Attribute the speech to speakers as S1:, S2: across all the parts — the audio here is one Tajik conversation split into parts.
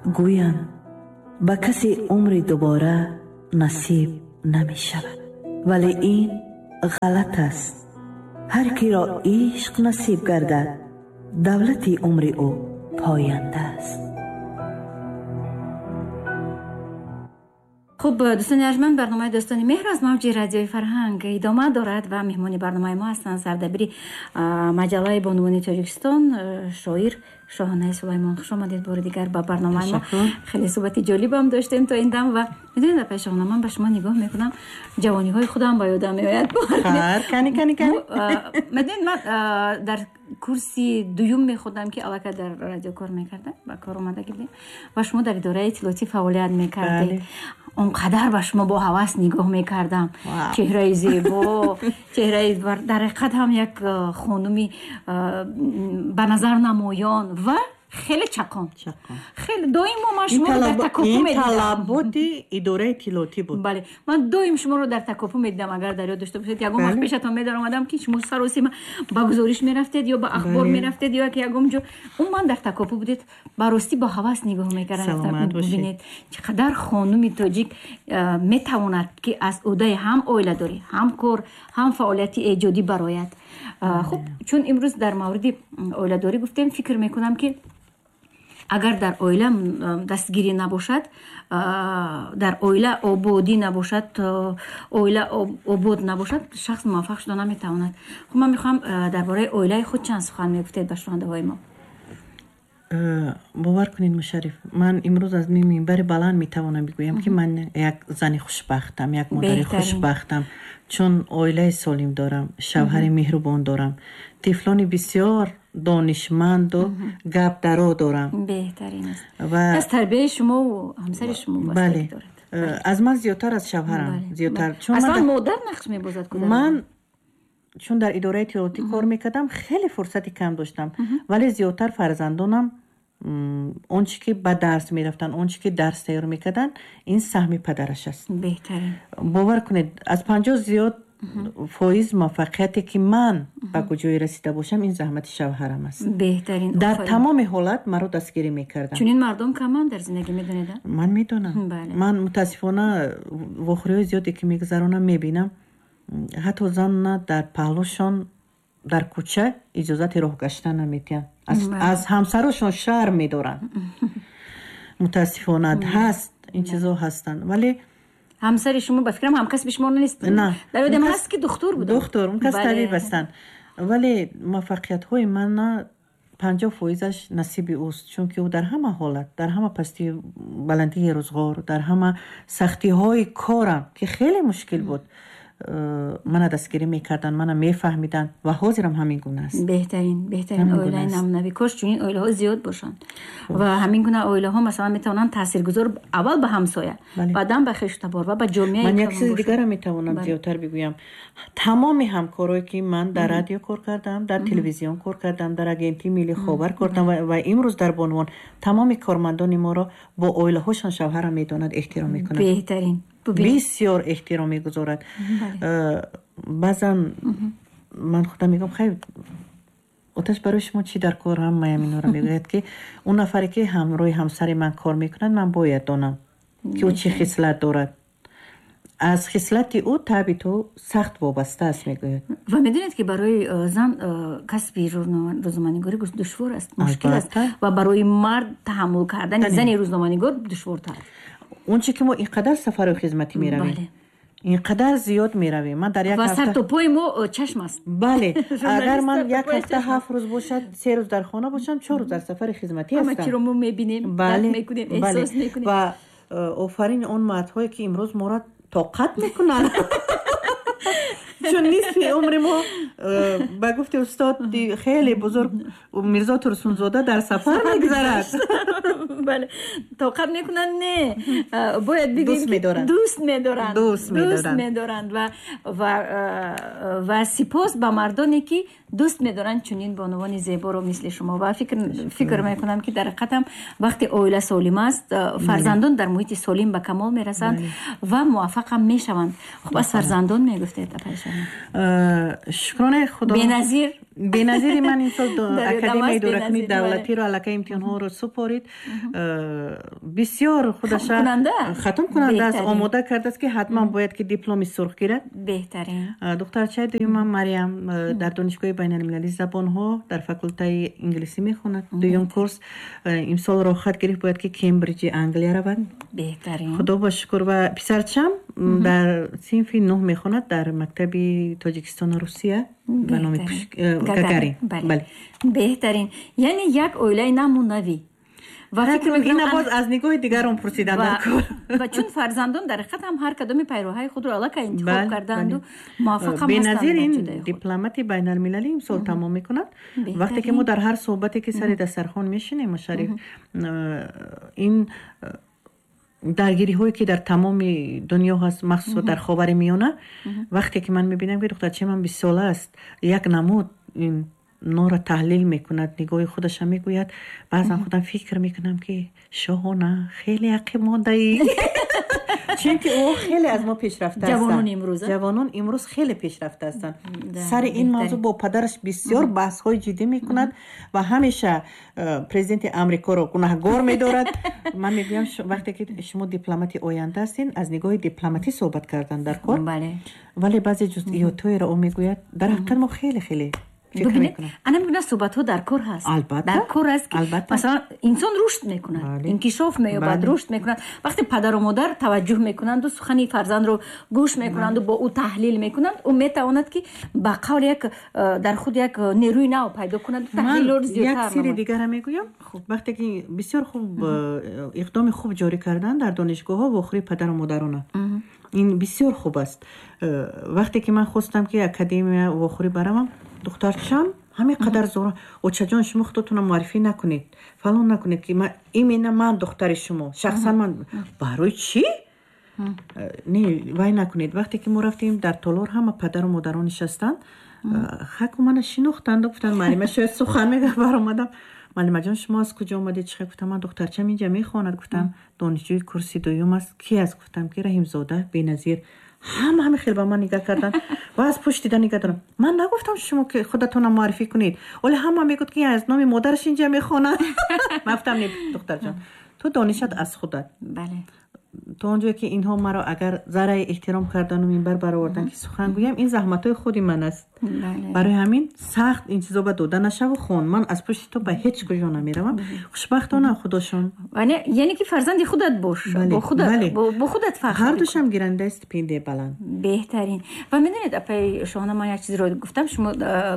S1: Гӯянд, ба касе умри дубора насиб намешавад, вале ин ғалат аст. Ҳар киро ишқ насиб гардад, давлати умри ӯ поянда аст.
S2: Хуб, дӯстони арҷманд, барномаи Дӯстони меҳр аз мавҷи радиои Фарҳанг идома дорад ва меҳмони барномаи мо ҳастанд сардабири маҷаллаи Бонувони Тоҷикистон, шоир Шоҳонаи Сулаймон. Хуш омадед бори дигар ба барномаи мо. Хеле суҳбати ҷолибам доштем то ин дам ва медонед, апаи Шоҳона, ман ба шумо нигоҳ мекунам, ҷавониҳои худам ба ёдам меояд.
S3: Кани, кани, кани.
S2: Медонед, ман дар курси дуюм мехондам, ки аллакай дар радио кор мекардам, ба кор омада будем ва шумо дар идораи иттилоотӣ фаъолият мекардед. Он қадар ба шумо бо ҳавас нигоҳ мекардам. Чеҳраи зебо, чеҳраи дар ҳақиқат ҳам як хонуми ба назар намоён ва хеле чақон. Хеле доимо ман шуморо дар такопӯ медидам.
S3: Ин талаботи идораи иттилоотӣ буд.
S2: Бале, ман доим шуморо дар такопӯ медидам. Агар дар ёд дошта бошед, ягон вақт пешатон медаромадам, ки шумо саросима ба гузориш мерафтед ё ба ахбор мерафтед ё ки ягон ҷо. Умуман дар такопӯ будед. Ба ростӣ бо ҳавас нигоҳ мекардам. Бубинед, чӣ қадар хонуми тоҷик метавонад, ки аз ӯҳдаи ҳам оиладорӣ, ҳам кор, ҳам фаъолияти эҷодӣ барояд. Хуб, чун имрӯз дар мавриди оиладорӣ гуфтем, фикр мекунам, ки агар дар оила дастгирӣ набошад, дар оила ободӣ набошад, оила обод набошад, шахс муваффақ шуда наметавонад. Хуб, ман мехоҳам дар бораи оилаи худ чанд сухан мегуфтед ба шунавандаҳои мо.
S3: Бовар кунед, Мушарриф, ман имрӯз аз минбари баланд метавонам бигӯям, ки ман як зани хушбахтам, як модари хушбахтам, чун оилаи солим дорам, шавҳари меҳрубон дорам, тифлони бисёр донишманду гапдаро дорам.
S2: Беҳтарин аст. Аз тарбияи шумову ҳамсари шумо
S3: бале, аз ман зиёдтар, аз шавҳарам зиёдтар.
S2: Аслан модар нақш мебозад.
S3: Ман чун дар идораи иттилоотӣ кор мекардам, хеле фурсати кам доштам, вале зиёдтар фарзандонам он чи ки ба дарс мерафтанд, он чи ки дарс тайёр мекарданд, ин саҳми падараш аст.
S2: Беҳтарин.
S3: Бовар кунед, аз 50 зиёд фоиз муваффақияте, ки ман ба куҷое расида бошам, ин заҳмати шавҳарам аст.
S2: Беҳтарин.
S3: Дар тамоми ҳолат маро дастгирӣ мекарданд.
S2: Чунин мардум каманд дар зиндагӣ, медонед?
S3: Ман медонам. Ман, мутаассифона, вохӯриҳои зиёде ки мегузаронам, мебинам, ҳатто занна дар паҳлӯшон дар кӯча иҷозати роҳ гаштан наметиҳанд, аз ҳамсарошон шарм медоранд. Мутаассифона, ҳаст, ин чизо ҳастанд, вале
S2: Ҳамсари шумо, ба фикрам, ҳамкасби шумо нест.
S3: На.
S2: Дар ёдам ҳаст, ки духтур буд.
S3: Духтур, он кас табиб ҳастанд, вале муваффақиятҳои мана 50 фоизаш насиби ӯст, чунки ӯ дар ҳама ҳолат, дар ҳама пастии баландии рӯзғор, дар ҳама сахтиҳои корам, ки хеле мушкил буд, мана дастгирӣ мекарданд, мана мефаҳмиданд ва ҳозирам ҳамин гуна аст.
S2: Беҳтарин, беҳтарин оилаи намунавӣ. Кош чунин оилаҳо зиёд бошанд ва ҳамин гуна оилаҳо, масалан, метавонанд таъсиргузор аввал ба ҳамсоя, баъдан ба хешу табор ва ба ҷомеаи.
S3: Ман як чизи дигарро метавонам зиёдтар бигӯям. Тамоми ҳамкорое, ки ман дар радио кор кардам, дар телевизион кор кардам, дар Агентии миллии ховар кор кардам ва имрӯз дар Бонувон, тамоми кормандони моро бо оилаҳошон шавҳарам медонад, эҳтиром мекунад.
S2: Беҳтарин.
S3: Бисёр эҳтиром мегузорад. Баъзан ман худам мегӯям: «Хайр, оташ, барои шумо чӣ дар кор?» Ҳамаям инора мегӯяд, ки он нафаре, ки ҳамроҳи ҳамсари ман кор мекунад, ман бояд донам, ки ӯ чӣ хислат дорад, аз хислати ӯ табъи ту сахт вобаста аст, мегӯяд.
S2: Ва медонед, ки барои зан касби рӯзноманигорӣ душвор аст, мушкил аст ва барои мард таҳаммул кардани зани рӯзноманигор душвортар.
S3: Он чи ки мо ин қадар сафару хизматӣ меравем, ин қадар зиёд меравем, ман дар як
S2: ва сартопои мо чашм аст.
S3: Бале, агар ман як ҳафта 7 рӯз бошад, 3 рӯз дар хона бошам, 4 рӯз дар сафари хизматӣ ҳастам.
S2: Ҳама чиро мо мебинем, дарк мекунем, эҳсос мекунем.
S3: Ва офарин он мардҳое, ки имрӯз моро тоқат мекунанд, чун нисфи умри мо, ба гуфти устоди хеле бузург Мирзо Турсунзода, дар сафар мегузарад.
S2: Бале, тоқат мекунанд, не, бояд бигӯем,
S3: дӯст
S2: медоранд.
S3: Дӯст
S2: медоранд. Ва сипос ба мардоне, ки дӯст медоранд чунин бонувони зеборо мисли шумо. Ва фикр мекунам, ки дар ҳақиқатам вақте оила солим аст, фарзандон дар муҳити солим ба камол мерасанд ва муваффақам мешаванд. Хуб, аз фарзандон мегуфтед, апайшона.
S3: Шукронаи Худо.
S2: Беназир.
S3: Беназири ман ин сол Академияи идоракунии давлатиро аллакай имтиҳонҳоро супорид. Бисёр худаша хатмкунанда аст, омода кардааст, ки ҳатман бояд ки дипломи сурх гирад.
S2: Беҳтарин.
S3: Духтарчаи дуюмам Мариям дар Донишгоҳи байналмилалии забонҳо дар факултаи инглисӣ мехонад, дуюм курс. Имсол роҳхат гирифт, бояд ки Кембриҷи Англия равад.
S2: Беҳтарин.
S3: Худо ба шукр. Ва писарчам дар синфи нӯҳ мехонад дар мактаби Тоҷикистону Русия ба номи Гагарин.
S2: Беҳтарин. Яъне як оилаи намунавӣ.
S3: Ина боз аз нигоҳи дигарон пурсидан дар кор.
S2: Ва чун фарзандон дар ҳақиқат ҳам ҳар кадоми пайроҳаи худро аллакай интихоб кардаанду муваффақам
S3: Беназир ин дипломати байналмилалӣ имсол тамом мекунад. Вақте ки мо дар ҳар суҳбате ки сари дастархон мешинем, Шариф, ин даргириҳое ки дар тамоми дунё ҳаст, махсусан дар Ховари Миёна, вақте ки ман мебинам, ки духтарчаи ман 20сола аст, як намуд ин нора таҳлил мекунад, нигоҳи худаша мегӯяд, баъзан худам фикр мекунам, ки Шоҳона, хеле ақиб мондаӣ, чунки ӯ хеле аз мо пешрафта. Ҷавонон имрӯз хеле пешрафта ҳастанд. Сари ин мавзӯъ бо падараш бисёр баҳсҳои ҷиддӣ мекунад ва ҳамеша президенти Амрикоро гунаҳгор медорад. Ман мегӯям, вақте ки шумо дипломати оянда ҳастин, аз нигоҳи дипломатӣ суҳбат кардан дар кор, вале баъзе ҷузъиётҳоеро ӯ мегӯяд, дар ҳақиқат мо хеле хеле.
S2: Бибинед, ана мегӯна, суҳбатҳо дар кор ҳаст, дар кор аст, ки масалан инсон рушд мекунад, инкишоф меёбад, рушд мекунад, вақте падару модар таваҷҷӯҳ мекунанду сухани фарзандро гӯш мекунанду бо ӯ таҳлил мекунанд, ӯ метавонад, ки ба қавли як дар худ як нерӯи нав пайдо кунад.
S3: Таҳлилро зиёдтар. Як сири дигара мегӯям. Вақте ки бисёр хуб иқдоми хуб ҷорӣ кардан дар донишгоҳҳо, вохӯрии падару модарона, ин бисёр хуб аст. Вақте ки ман хостам, ки академия вохӯрӣ баравам, духтарчам ҳамин қадар зора: «Очаҷон, шумо худотонро муаррифӣ накунед, фалон накунед, ки именно ман духтари шумо, шахсан ман барои чӣ не вай накунед». Вақте ки мо рафтем, дар толор ҳама падару модарон нишастанд. Хаку мана шинохтанду гуфтанд: «Муаллима шояд сухан мега». Баромадам: «Муаллимаҷон, шумо аз куҷо омадед?» Чихе гуфтам: «Ман духтарчам инҷа мехонад», гуфтам, «донишҷӯи курси дуюм аст». «Ки аст?» Гуфтам, ки Раҳимзода Беназир. Ҳама ҳами хел ба ман нигаҳ карданд ва аз пушт дида нигаҳ дорам. Ман нагуфтам, шумо ки худатонам муаррифӣ кунед, вале ҳама мегӯд, ки аз номи модараш инҷа мехонад. Ман гуфтам: «Не, духтарҷон, ту донишат аз худат. То он ҷое ки инҳо маро агар зарраи эҳтиром кардану минбар баровардан, ки сухан гӯям, ин заҳматҳои худи ман аст. Барои ҳамин сахт ин чизо ба дода нашаву хон, ман аз пушти ту ба ҳеҷ куҷо намеравам». Хушбахтона, худошон.
S2: Яъне ки фарзанди худат бош, бо худат фахр.
S3: Ҳардушам гирандаи стипендияи баланд.
S2: Беҳтарин. Ва медонед, апаи Шоҳона, ман як чизеро гуфтам, шумо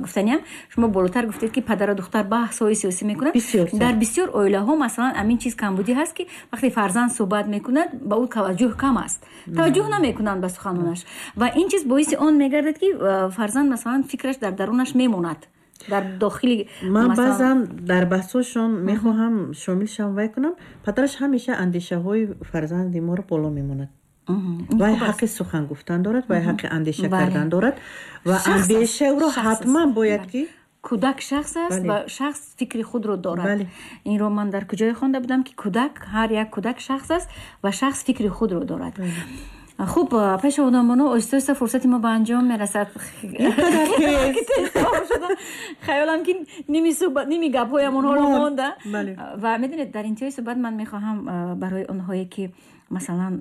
S2: гуфтаниям, шумо болотар гуфтед, ки падару духтар баҳсҳои сиёсӣ мекунанд. Дар бисёр оилаҳо, масалан, ҳамин чиз камбудӣ ҳаст, ки вақте фарзанд суҳбат мекунад, ба ӯ таваҷҷӯҳ кам аст, таваҷҷӯҳ намекунанд ба суханонаш, ва ин чиз боиси он мегардад, ки фарзанд, масалан, фикраш дар дарунаш мемонад, дар дохили.
S3: Ман баъзан дар баҳсҳошон мехоҳам шомил шавам, вай кунам, падараш ҳамеша андешаҳои фарзанди моро боло мемонад. Вай ҳаққи сухан гуфтан дорад, вай ҳаққи андеша кардан дорад ва андешаи ӯро ҳатман бояд ки
S2: Кӯдак шахс аст ва шахс фикри худро дорад. Инро ман дар куҷое хонда будам, ки кӯдак, ҳар як кӯдак шахс аст ва шахс фикри худро дорад. Хуб, пеш одамоно, оҳиста оҳиста фурсати мо ба анҷом мерасад. Хаёлам, ки ними суҳбат, ними гапҳоям онҳоро монда. Ва медонед, дар интиҳои суҳбат ман мехоҳам барои онҳое, ки масалан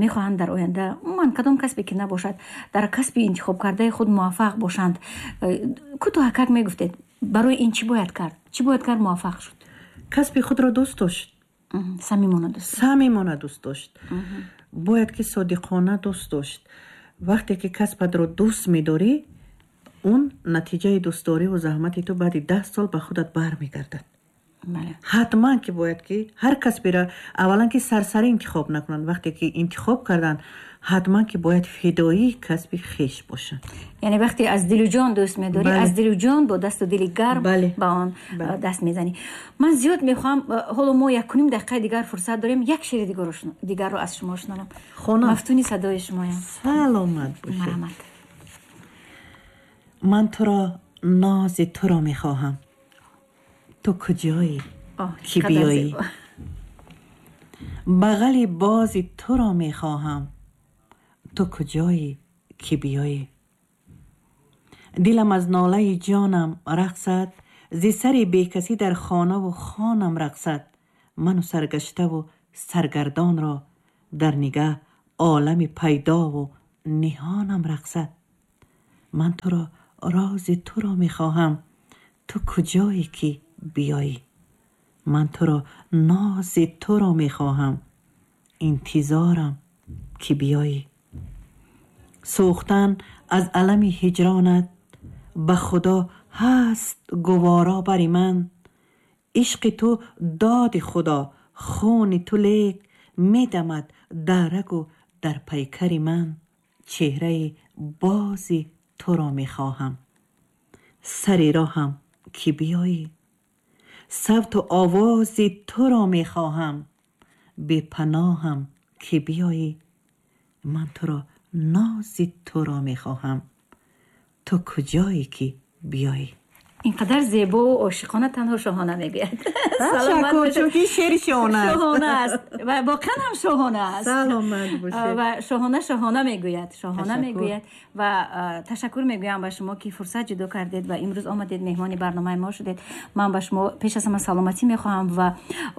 S2: мехоҳанд дар оянда, умуман кадом касбе ки набошад, дар касби интихобкардаи худ муваффақ бошанд, кӯтоҳакак мегуфтед, барои ин чӣ бояд кард, чӣ бояд кард муваффақ шуд?
S3: Касби худро дӯст дошт.
S2: Самимона дӯст.
S3: Самимона дӯст дошт, бояд ки содиқона дӯст дошт. Вақте ки касбатро дӯст медорӣ, он натиҷаи дӯстдориву заҳмати ту баъди 10 сол ба худат бармегардад. Ҳатман ки бояд ки ҳар касберо аввалан ки сарсарӣ интихоб накунанд. Вақте ки интихоб карданд, ҳатман ки бояд фидоии касби хеш бошанд.
S2: Яъне вақте аз дилу ҷон дӯст медорӣ, аз дилу ҷон, бо дасту дили гарм ба он даст мезанӣ. Ман зиёд мехоҳам, ҳоло мо якуним дақиқаи дигар фурсат дорем, як шеъри дигарро аз шумо шунавам. Мафтуни садои шумоям.
S3: Саломат бошед.
S2: Марҳамат.
S3: Ман туро, нози туро мехоҳам, ту куҷоӣ, ки биёӣ? Бағали бози туро мехоҳам, ту куҷоӣ, ки биёӣ? Дилам аз нолаи ҷонам рақсад, зи сари бекасӣ дар хонаву хонам рақсад. Ману саргаштаву саргардонро дар нигаҳ олами пайдову ниҳонам рақсад. Ман туро, рози туро мехоҳам, ту куҷое ки биёӣ. Ман туро, нози туро мехоҳам, интизорам ки биёӣ. Сӯхтан аз алами ҳиҷронат ба худо ҳаст гуворо бари ман. Ишқи ту доди худо, хуни ту лек медамад дар рагу дар пайкари ман. Чеҳраи бози туро мехоҳам, сари роҳам ки биёӣ. Савту овози туро мехоҳам, бепаноҳам ки биёӣ. Ман туро, нози туро мехоҳам, ту куҷое ки биёӣ.
S2: Инқадар зебо ва ошиқона танҳо Шоҳона мегӯяд.
S3: Ташаккур, чунки шеъри шоҳона аст.
S2: Шоҳона аст ва воқеан ҳам шоҳона аст.
S3: Саломат бошед.
S2: Ва шоҳона шоҳона мегӯяд, шоҳона мегӯяд. Ва ташаккур мегӯям ба шумо, ки фурсат ҷудо кардед ва имрӯз омадед, меҳмони барномаи мо шудед. Ман ба шумо пеш аз ҳама саломатӣ мехоҳам ва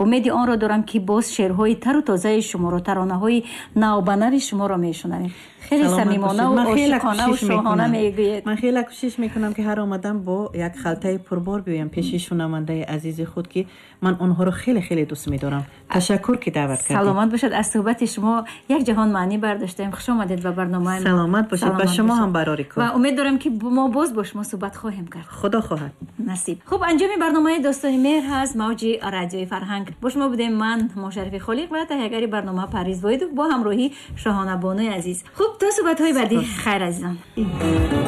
S2: умеди онро дорам, ки боз шеърҳои тару тозаи шуморо, таронаҳои навбанави шуморо мешунавем. Хеле самимона ва ошиқона ва шоҳона мегӯед.
S3: Ман хеле кӯшиш мекунам, ки ҳар омадам бо як халтаи пурбор биёям пеши шунавандаи азизи худ, ки ман онҳоро хеле хеле дӯст медорам. Ташаккур, ки даъват кардед.
S2: Саломат бошад. Аз суҳбати шумо як ҷаҳон маънӣ бардоштем. Хуш омадед ба барномаи мо.
S3: Саломат бошед. Ба шумо ҳам барори кор.
S2: Ва умед дорам, ки мо боз бо шумо суҳбат хоҳем кард.
S3: Худо хоҳад.
S2: Насиб. Хуб, анҷоми барномаи «Достони меҳр» ҳаст мавҷи Радиои Фарҳанг. Бо шумо будем ман, Мошарифи Холиқ, ва таҳиягари барнома Парвиз Воҳидов бо ҳамроҳии Шоҳона Бонуи азиз. Хуб, то суҳбатҳои баъдӣ, хайр, азизон.